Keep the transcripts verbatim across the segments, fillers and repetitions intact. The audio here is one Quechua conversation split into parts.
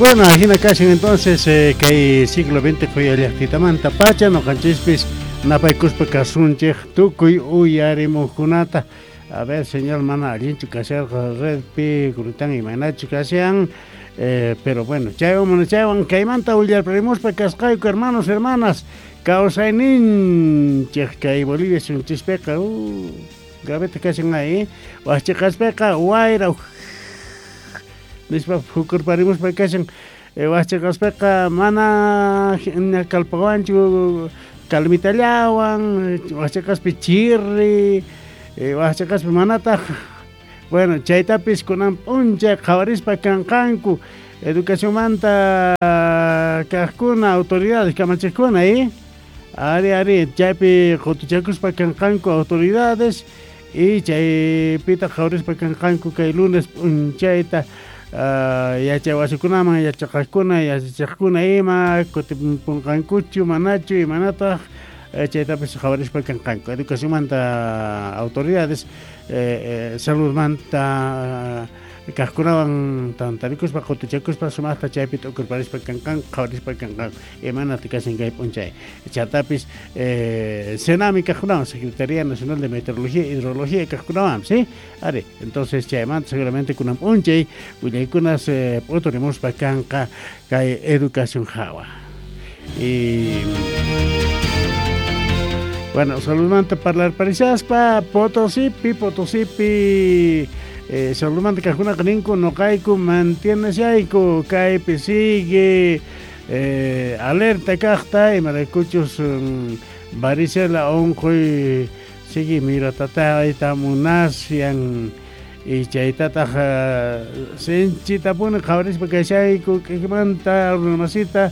Bueno, ajina kashan entonces eh, kay siglo veinte quyallaqtitamanta pacha noqanchispis napaykuspa kasunchik tukuy uyarimuqkunata. A ver, señor, mana allinchu kasharqa redpi kuritan imaynachu kashan, eh, pero bueno, chaywan mana chaywan kaymanta willarparimuspa kasqayku hermanos, hermanas, kawsayninchik kay Bolivia sunchispiqa uh, gravete kashan ahí, waqchiqaspiqa wayra nispa phukurparimuspa kashan, eh, waqchiqaspiqa mana kallpawanchu kalmitallawan, waqchiqaspi chirri, eh, waqchiqaspi manataq, bueno, chaytapis kunan p'unchay qhawarispa kanqanku educacionmanta kaqkuna autoridades kamachiqkuna, eh? Ari, ari, chaypi qutuchakuspa kanqanku autoridades y chaypita qhawarispa kanqanku kay lunes p'unchayta uh, yachay wasikunaman yachaqaqkuna yachachiqkuna ima kutipunqankuchu manachu imanataq chaytapis qhawarispa kanqanku educacionmanta autoridades eh, eh, saludmanta kaqkunawan tantarikuspa qutuchakuspa sumaqta chaypi t'ukurparispa kanqanku qhawarispa kanqanku imanataq kashan kay p'unchay chatapis eh, SENAMI kaqkunawan Secretaría Nacional de Meteorología e Hidrología kaqkunawan, ¿sí? Ari, entonces chaymanta seguramente kunan p'unchay willaykunas eh, p'uturimuspa kanqa kay educación hawa. Y bueno, saludmanta parlarparishaspa Potosipi, Potosipi eh, saludmanta kaqkunaqa ninku noqayku mantieneshayku kaypi sigue eh, alerta kaqta imaraykuchus um, varicela unquy sigue miratatayta munasyan y chaytataq uh, sinchitapuni qhawarispa kashayku k'ikmanta runamasita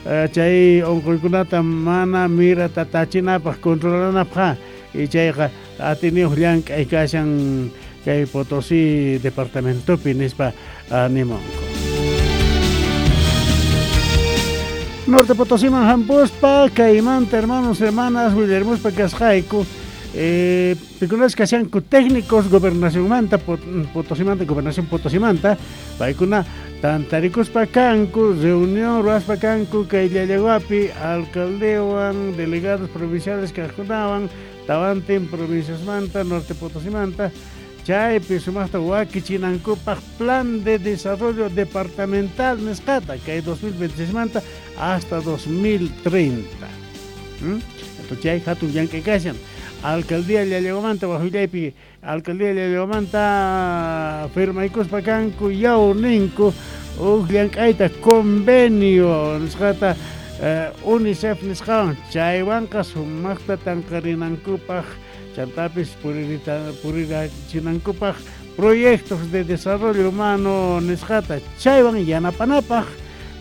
uh, chay unquykunata mana miratatachinapaq controlanapaq y chayqa atiniyuq llank'ay kashan kay Potosí departamentopi nispa animonko. Norte Potosíman hampuspa kaymanta hermanos hermanas willarmuspa kasqayku eh, pikunas kashanku técnicos gobernacionmanta Potosimanta gobernación Potosimanta paykuna tantarikuspa kanku reunión ruwaspa kanku kay Llallaguapi alcaldewan delegados provinciales kaqkunawan tawantin provinciasmanta Norte Potosimanta chaypi sumaqta wakichinankupaq plan de desarrollo departamental nisqata kay dos mil veintiséis manta hasta dos mil treinta. ¿Mm? Entonces chay hatun llank'ay kashan alcaldía Llallaguamanta wajullaypi alcaldía Llallaguamanta firmaykuspa kanku yaw ninku huk llank'ayta convenio nisqata eh, UNICEF nisqawan chaywanqa sumaqta tanqarinankupaq chantapis purirachinankupaq proyectos de desarrollo humano nisqata chaywan yanapanapaq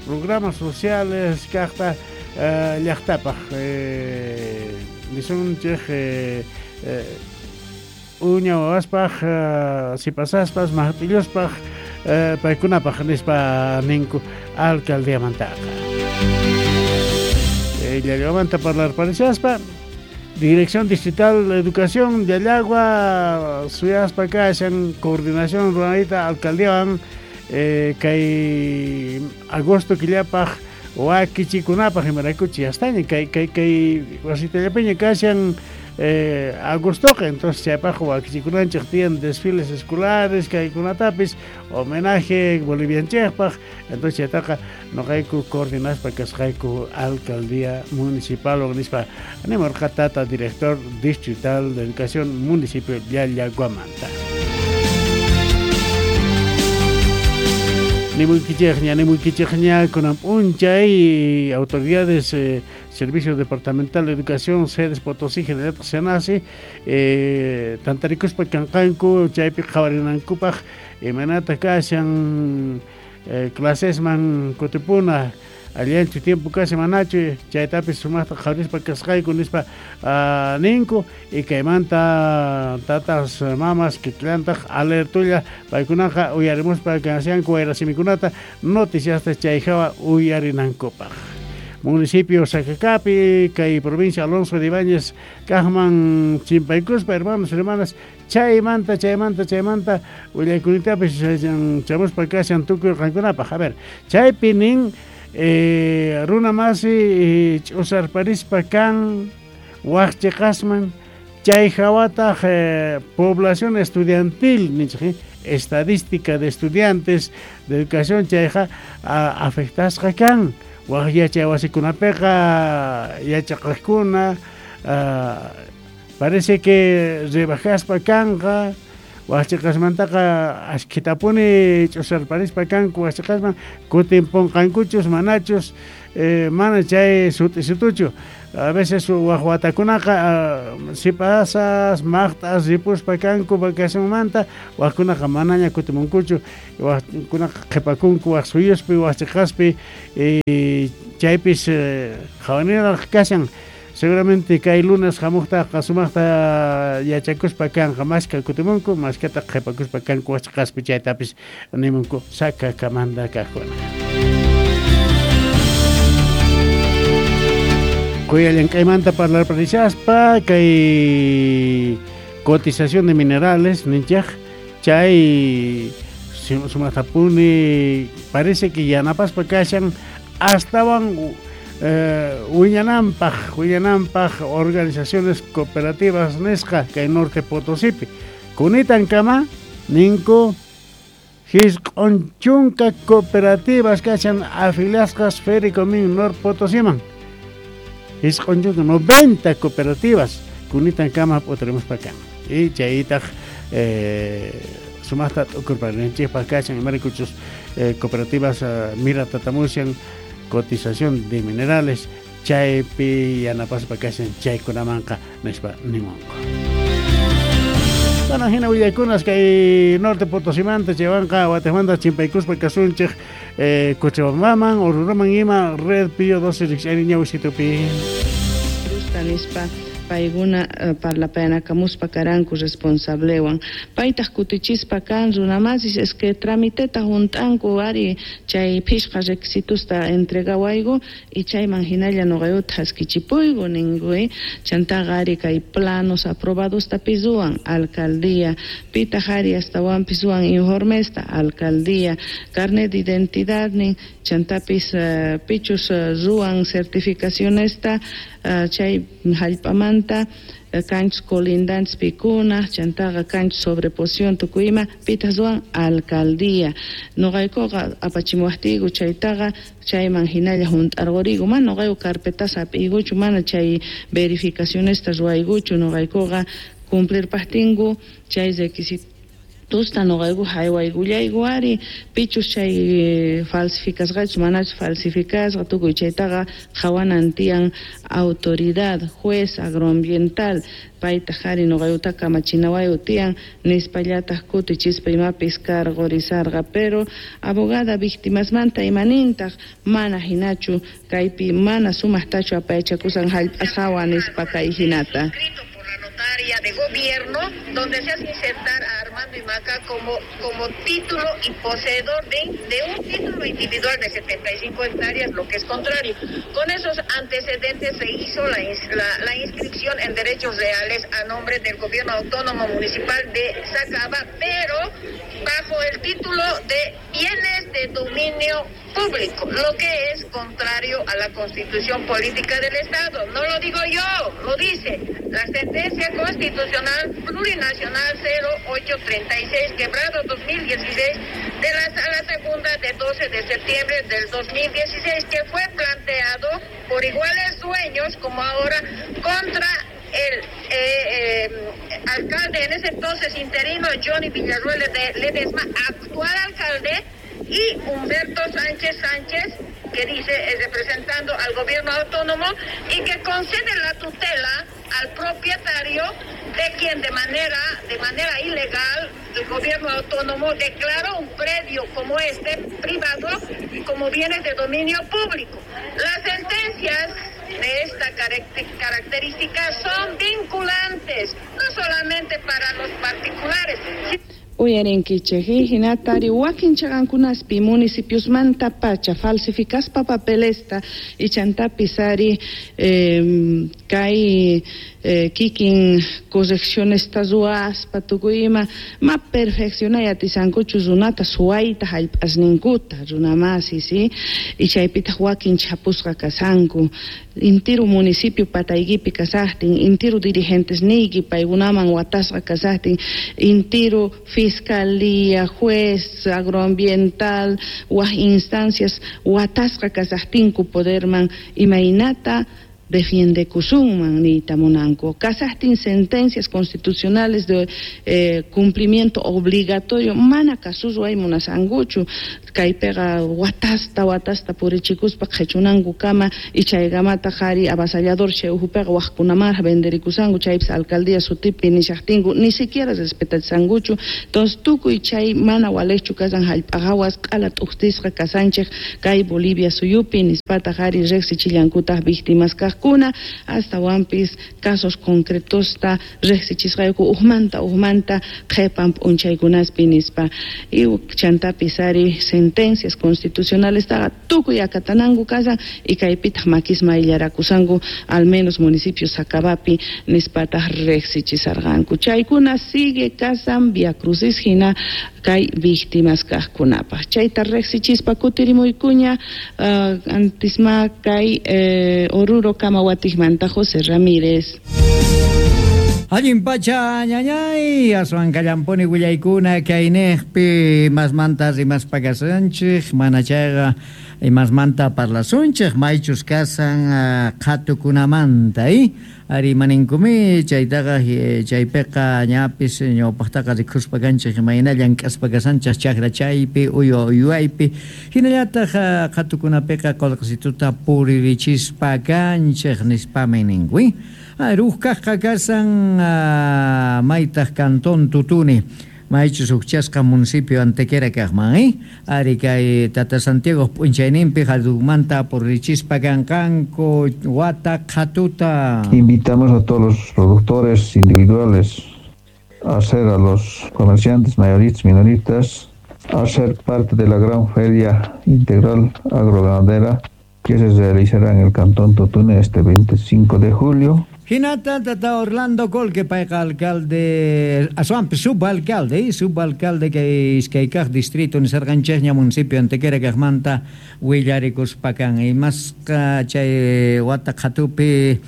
programas sociales kaqta eh, llaqtapaq eh, nisunchik eh, eh, uña wawaspaq eh, sipasaspas maqtilluspaq eh, paykunapaq nispa ninku alcaldiamantaqa. Eh, Llallaguamanta parlarparishaspa Dirección Distrital de Educación de Llallagua, suyaspa kashan coordinación ruranita alcaldiawan eh, kay agosto killapaq wakichikunapaq imaraykuchi yastaña kay kay kay wasitallapiña kashan eh, agostoqa entonces chaypaq wakichikunanchik tiyan desfiles escolares kaykunatapis homenaje bolivianchikpaq entonces chaytaqa noqayku coordinaspa kasqayku alcaldía municipal nispa animarqa tata director distrital de educación municipio Llallaguamanta. Nimuykichikña, nimuykichikña kunan p'unchay autoridades eh, Servicio Departamental de Educación sedes Potosí General Senasi eh, tantarikuspa kanqanku chaypi qhawarinankupaq imaynata kashan eh, clasesman kutipuna allanchu tiempo kashan manachu chaytapis sumaqta qhawarispa kasqayku nispa uh, ninku y kaymanta tatas mamas kikllantaq alertulla paykunaqa uyarimuspa kashanku wayrasimikunata noticiasta chay hawa uyarinankupaq. Municipio Sacacapi, kay provincia Alonso de Ibáñez, kaqman chimpaykuspa, hermanos, hermanas, chaymanta, chaymanta, chaymanta, willaykunitapis chamuspa kashan tukuy qankunapaq. A ver, chaypi nin eh, runa masi ch'usarparispa kan waqchiqasman chay hawataq eh, población estudiantil ninchik, estadística de estudiantes de educación chayqa afectasqa kan waq yachay wasikunapiqa yachaqaqkuna parece que rebajaspa kanqa waqchiqasmantaqa ashkhitapuni ch'usarparispa kanku waqchiqasman kutinpunqankuchus manachus eh, mana chay sut'isituchu. A veces waq watakunaqa sipasas maqt'as ripuspa kanku vacacionmanta waqkunaqa manaña kutimunkuchu waqkunaqa qhipakunku waq suyuspi waqchiqaspi eh, chaypis qhawaniraq kashan. Seguramente kay lunes hamuqtaqa sumaqta yachakuspa kanqa mashka kutimunku mashkata qhipakuspa kanku waqchiqaspi chaytapis nimunku Sacakamanta kaqkuna. Kuyallank'aymanta parlarparishaspa kay cotización de minerales ninchaq chay sumaqtapuni parece que yanapaspa kashan astawan eh, wiñananpaq wiñananpaq organizaciones cooperativas nisqa kay Norte Potosipi kunitankama ninku hisq'un chunka cooperativas kashan afiliasqas Fericomin Norte Potosiman hisq'un chunka noventa cooperativas kunitankama p'utarimuspa kan y chaytaq eh, sumaqta t'ukurparinchikpaq kashan imaraykuchus eh, cooperativas uh, mira tatamushan cotización de minerales chaypi yanapaspa kashan chaykunamanqa nispa nimunku. Bueno, hina willaykunas kay Norte Potosimanta chaywanqa watejmanta chimpaykuspa kasunchik eh, Cochabambaman Oruroman ima Red Pío doce rikch'ayni ñawisitupi. Nispa paykuna uh, parlapayanakamuspa karanku responsablewan paytaq kutichispa kan runamasis es que tramiteta hunt'anku ari chay phishqa requisitusta entregawayku y chayman hinalla nuqayuta haskichipuyku ninku eh? Chantaqa ari kay planos aprobadosta ruwan alcaldía pitaq ari astawanpis ruwan informesta alcaldía carnet de identidad nin chantapis uh, pichus uh, ruwan certificacionesta uh, chay hallp'amanta kanchus colindantes pikuna chantaqa kanchus sobreposición tukuyma pitaq ruwan alcaldía nuqaykuqa apachimuwaqtiyku chaytaqa chayman hinalla hunt'arquriyku mana nuqayku carpetas hap'iykuchu mana chay verificacionesta ruwaykuchu nuqaykuqa cumplirpaqtinku chay requisito tusta nuqayku haywaykullayku ari pichus chay falsificasqachus manachu falsificasqa tukuy chaytaqa qhawanan tiyan autoridad juez agroambiental paytaq ari nuqaykuta kamachinawayu tiyan nispallataq kutichispa imapis cargorizarqa pero abogada víctimasmanta imanintaq mana hinachu kaypi mana sumaqtachu apayachakusan hallp'as hawa nispa kay hinata. Notaria de gobierno, donde se hace insertar a Armando Imaca como, como título y poseedor de, de un título individual de setenta y cinco hectáreas, lo que es contrario. Con esos antecedentes se hizo la, la, la inscripción en derechos reales a nombre del gobierno autónomo municipal de Sacaba, pero bajo el título de bienes de dominio público, lo que es contrario a la Constitución Política del Estado. No lo digo yo, lo dice la sentencia constitucional plurinacional cero ocho treinta y seis, quebrado dos mil dieciséis, de la Sala Segunda de doce de septiembre del dos mil dieciséis, que fue planteado por iguales dueños como ahora contra el eh, eh, alcalde en ese entonces interino Johnny Villarruel de Ledesma, actual alcalde, y Humberto Sánchez Sánchez, que dice es representando al gobierno autónomo y que concede la tutela al propietario de quien de manera, de manera ilegal el gobierno autónomo declaró un predio como este privado como bienes de dominio público. Las sentencias de esta característica son vinculantes, no solamente para los particulares. Uyarinkichik hinatari wakin chaqankunaspi municipiosmanta pacha falsificaspa papelesta y chantapis ari eh, kay eh, kikin correccionesta ruwaspa tukuy ima ma perfeccionay atisankuchu runata suwayta hallp'asninkuta runamasi si y chaypitaq wakin chapusqa kasanku intiru municipio pataykipi kasaqtin intiru dirigentes niyki paykunaman watasqa kasaqtin intiru fiscalía, juez agroambiental, waj instancias watasqa kasaqtinku poderman imaynata defiendekusunman niyta munanku kasaqtin sentencias constitucionales de eh, cumplimiento obligatorio mana kasusway munasankuchu kaypiqa watasta watasta purichikuspa qhichunankukama y chaykamataq ari avasallador chay uhupiqa waqkunamanraq venderikusanku chaypis alcaldía sutipi nishaqtinku ni siquiera respetachisankuchu. Entonces tukuy chay mana waliqchu kasan hallp'a hawas q'ala t'uqtisqa kasanchik kay Bolivia suyupi nispataq ari riqsichillankutaq víctimas kaq kuna astawanpis casos concretosta riqsichisqayku ujmanta ujmanta qhipan p'unchaykunaspi nispa y chantapis ari sentencias constitucionales taqa tukuy akatananku kasan y kaypitaq makisma ayllarakusanku al menos municipio Sacabapi nispataq riqsichisarqanku chaykuna sigue kasan Via Crucis hina kay víctimas kaqkunapaq chayta riqsichispa kutirimuykuña uh, antisma kay eh, Oruro Kamawatikmanta José Ramírez. Allin pacha ñañay aswan kallampuni willaykuna kayniqpi masmanta rimaspa kasanchik mana chayqa imasmanta parlasunchik maychus kasan qhatukunamanta eh ari maninkumi chaytaqa chaypiqa ñapis ñawpaqtaqa rikuspa kanchik imayna llank'aspa kasanchik chakra chaypi uywa uywaypi hinallataq qhatukunapiqa qullqisituta puririchispa kanchik nispami ninku Ruhkaqqa kasan maytaq cantón Tutuni maychus hukchasqa municipio Antequera kaqman eh ari kay Tata Santiago p'unchayninpi hallumanta purichispa kanqanku wata qhatuta. Invitamos a todos los productores individuales a ser a los comerciantes mayoristas, minoristas a ser parte de la gran feria integral agroganadera que se realizará en el cantón Totune este veinticinco de julio. Hinata tata Orlando Colque payqa alcalde aswanpis subalcalde subalcalde kay iskaykaq distrito nisarqanchikña municipio Antequera kaqmanta willarikuspa kan imasqa chay wata qhatupi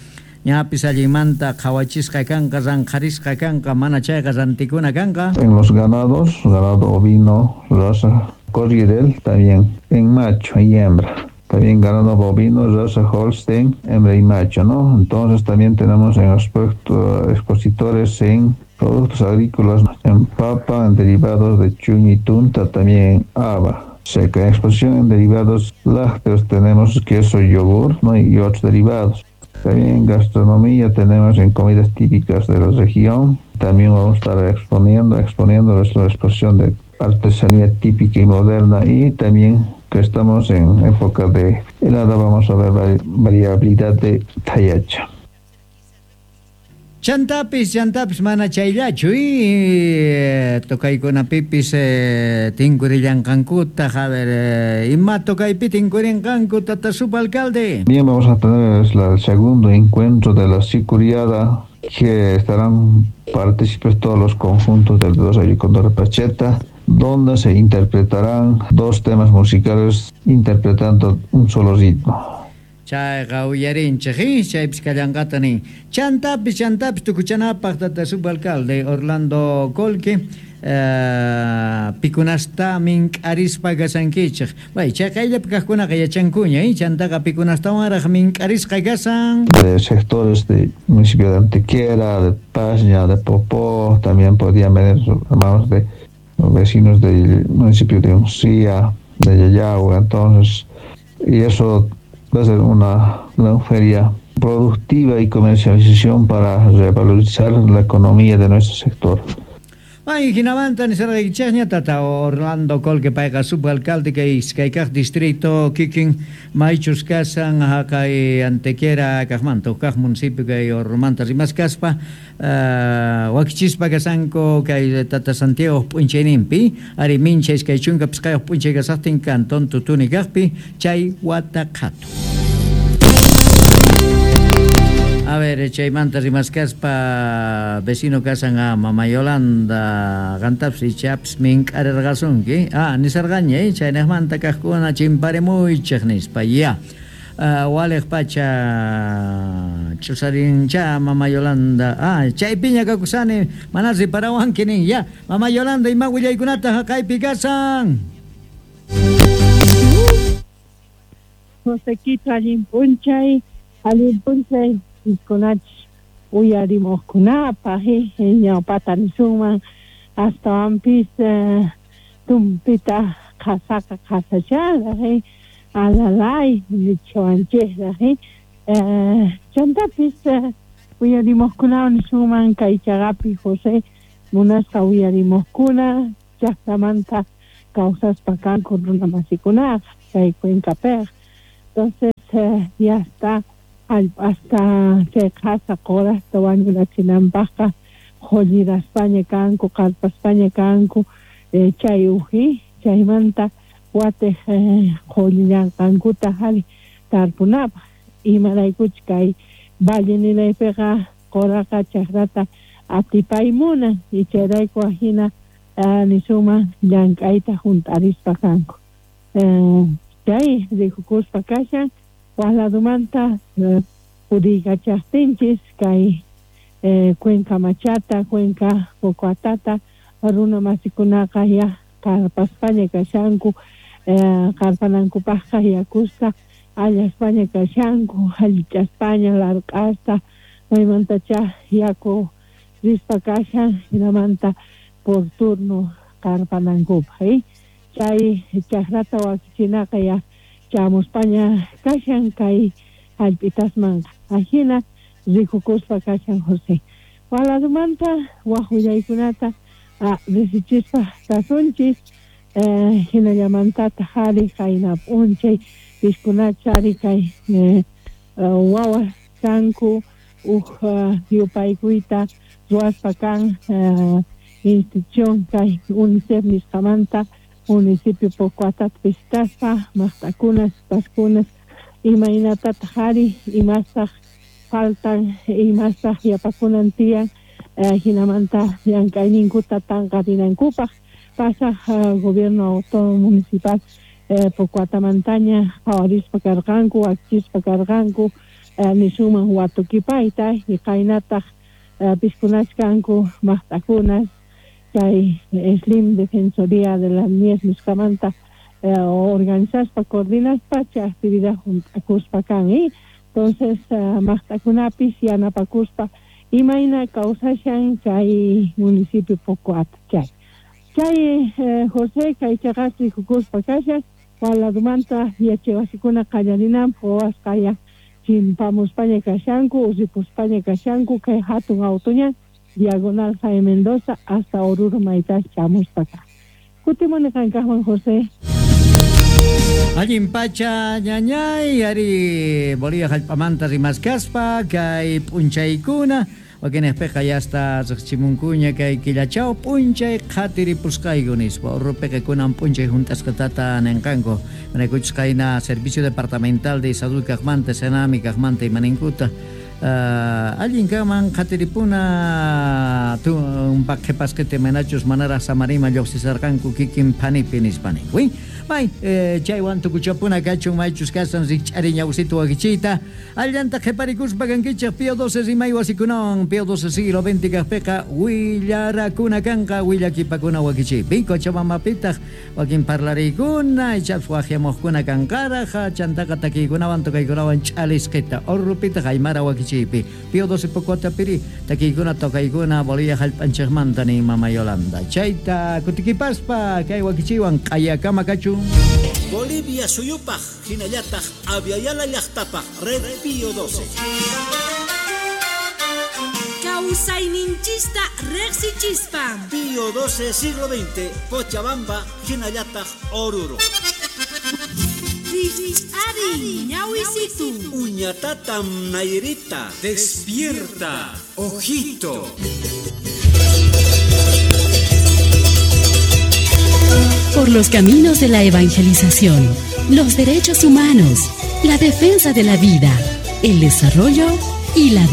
ñapis allinmanta qhawachisqa kanqa ranqharisqa kanqa mana chayqa rantikuna kanqa. En los ganados, ganado ovino, raza Corriedale también en macho y hembra. También ganado bovino, raza Holstein, hembra y macho, ¿no? Entonces también tenemos en aspecto expositores en productos agrícolas, en papa, en derivados de chuño y tunta, también en haba seca. En exposición en derivados lácteos tenemos queso, yogur, ¿no? Y otros derivados. También en gastronomía tenemos en comidas típicas de la región. También vamos a estar exponiendo, exponiendo nuestra exposición de artesanía típica y moderna y también que estamos en época de helada, vamos a ver variabilidad de tayacha. Chantapis, chantapis, mana chayllachu y tokaykunapipis eh, tinkurillanqankuta, a ver, eh, ima tokaypi tinkurinqanku, tata subalcalde. Bien, vamos a tener el segundo encuentro de la sicuriada, que estarán partícipes todos los conjuntos del dos Condor Pacheta, donde se interpretarán dos temas musicales interpretando un solo ritmo. Chayqa uyarinchik, chaypis kallanqata nin. Chantapis, chantapis tukuchanapaq tata subalcalde Orlando Colque, eh, pikunasta mink'arispa kasankichik. Bay, chay qayllapi kaqkunaqa yachankuña, eh? Chantaqa pikunastawanraq mink'arisqa kasan. De sectores del municipio de Antequera, de Paña, de Popó, también podían venir hermanos de vecinos del municipio de Uncía, de Yayagua, entonces, y eso va a ser una gran feria productiva y comercialización para revalorizar la economía de nuestro sector. Ay, hinamanta nisarqaykichikña tata Orlando Colque payqa subalcalde kay iskay kaq distrito kikin maychus kasan haqay Antequera kaqmanta kaq municipio kay Ormanta rimaskaspa uh, wakichispa kasanku kay tata Santiago p'unchayninpi ari mincha iskay chunka pisqayuq p'unchay kasaqtin cantón Tutuni kaqpi chay wata qhatu. A ver, chaymanta rimaskaspa vecino kasan a Mama Yolanda qantapis ichapas mink'arirqasunki. Ah, nisarqaña, eh, chaynaqmanta kaqkuna chimparimuychik nispa, ya. Uh, waliq pacha ch'usarincha Mama Yolanda. Ah, chaypiña kakusani, mana riparawanki nin, ya. Mama Yolanda, ima willaykunata haqaypi kasan? Josequito, allin p'unchay, allin p'unchay. Kunach uyarimuqkunapaq ñawpata nisunman astawanpis tumpita qhasaqa qhasacharaq alalay nichawanchikraq chantapis uyarimuqkunawan nisunman kay chaqapi José munasqa uyarimuqkuna llaqtamanta kawsaspa kanku runamasikunaqa kay Cuencapiqa. Entonces ya está hasta chay qhasa qurasta wañurachinanpaqqa qulliraspaña kanku qarpaspaña kanku chay uji chaymanta watiq qullillanqankuta hari tarpunapaq imaraykuch kay valle ninaypiqa quraqa chakrata atipaymunan y chayrayku ajina nisunman llank'ayta hunt'arispa kanku chay rikukuspa kashan Waqladumanta puriykachaqtinchis kay Cuenca Machata, Cuenca Pocoatata, runa masikunaqa ya qarpaspaña kashanku, qarpanankupaqqa yakusta allaspaña kashanku, allichaspaña larq'asta, maymantacha yaku rispa kashan, hinamanta por turno qarpanankupaq. Eh? Chay chakrata wakichinaqa ya chamuspaña kashan kay hallp'itasmanqa ajina rikukuspa kashan José. Waladumanta waq willaykunata risichispa kasunchis hinallamantataq ari qayna p'unchay piskunacha ari kay wawas kanku uj yupaykuyta ruwaspa kan institución kay UNICEF nisqamanta municipio Pocoatata visitaspa maqtakunas paskunas imaynatataq ari imastaq faltan imastaq yapakunan tiyan hinamanta llank'ayninkuta tanqarinankupaq pasaq gobierno autónomo municipal Pocoatamantaña qhawarispa karqanku wakichispa karqanku nisunman watukipayta y qaynataq piskunachkanku maqtakunas chay Slim Defensoría de la Niñez nisqamanta eh, organizaspa coordinaspa chay actividad hunt'akuspa kan eh? Entonces uh, maqtakunapis yanapakuspa imayna kawsashan chay municipio Pocoata chay chay eh, José kay chaqas rikukuspa kashan waladumanta yachaywasikuna qallarinanpaq wawasqa ya chimpamuspaña kashanku uripuspaña kashanku kay hatun autuña Diagonal Jaime Mendoza hasta Oruro maytas chamuspa ka. Kutimuni qankaqman José. Allin pacha ñañay ari Bolivia hallp'amanta rimaskaspa kay p'unchaykuna wakinaqpiqa ya hasta riqchimunkuña kay killachaw p'unchay qhatiripusqayku nispa Urrupiqa kunan p'unchay hunt'asqatata ninqanku manaykuchus qayna Servicio Departamental de Salud kaqmanta Senami kaqmanta imaninkuta Uh, allin kanman qhatiripuna tumpaq qhipasqita manachus manaraq samarima lluqsisarqanku kikin phanipi nispa ninku. May eh, chaywan tukuchapuna kachun maychus kasan rikch'ari ñawsita wakichiyta allanta qhiparikuspa kankichik Pío doce rimay wasikunawan Pío doce siglo veinte kaqpiqa willarakuna kanqa willakipakuna wakichiypi Cochabambapitaq wakin parlariykuna ichapas waqyamuqkuna kanqaraq chantaqa takiykunawan tokaykunawan ch'alisqita Orrupitaq aymara wakichiypi Pío doce Pocoatapiri takiykuna tokaykuna Bolivia hallp'anchikmanta nin Mama Yolanda chayta kutikipaspa kay wakichiywan q'ayakama kachun. Bolivia suyupaq hinallataq Aviala llaqtapaq Red Pío doce. Kawsay Kawsayninchista riqsichispa. Pío doce siglo veinte, Cochabamba, hinallataq Oruro. Ari, ñawisitu. Uñatatam Nairita. Despierta, ojito. Por los caminos de la evangelización, los derechos humanos, la defensa de la vida, el desarrollo y la